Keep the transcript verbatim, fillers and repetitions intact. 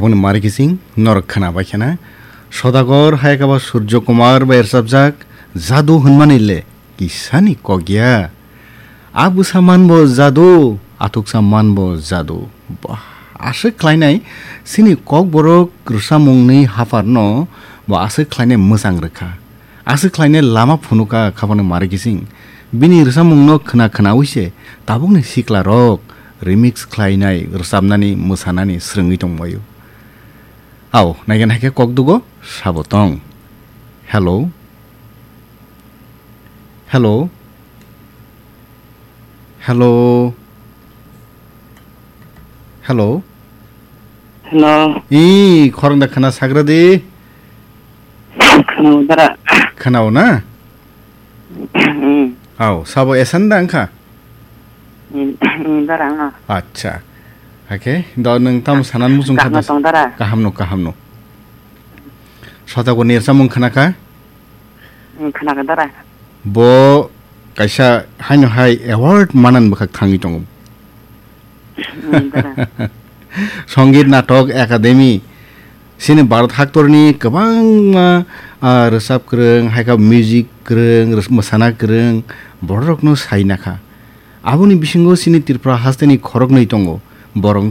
Boni mari kising norok khwnabai khena. Sodagor hai kaba Surjo Kumar bai rwchapjak Jadu hwnmani le kisani kok ya. A bwsa manbo jadu, athuksa manbo jadu. Bah, aswk khlainai sini kokborok rwsamungni haphar no bo aswk khlainai mwchang rwkha. Aswk khlainai lama phunuka khabangni mari kising. Bini rwsamungno khwna khwnaui se tabukni siklarok remix khlainai rwchapnani mwsanani swrwngwi tongbaio. Ao, naikhe naikhe kok dugo sabo tong. Hello. Hello. Hello. Hello. Hello. Ih, khorang da khana sagra di. Khana dara. Khana na? Hmm. Au, sabo esan da angkha? Hmm, hmm, dara, ah. Acha. Oke, do nung tam sanan muchung kaham khada tong dara. Kaham no, kaham no. Sota ko nirsa mung khana ka? Hmm, khana ka dara. Bo kaisa haino hai award manan bwkhak thangwi tongo. Hmm, dara. Songit Natok Academy, sini Bharat haktorni kwbangma, ah, rwchap kwrwng, hai khe music kwrwng, rwch-, mwsana kwrwng, bororokno sai nakha. Aboni bisingo sini Tripura hasteni khoroknwi tongo, borok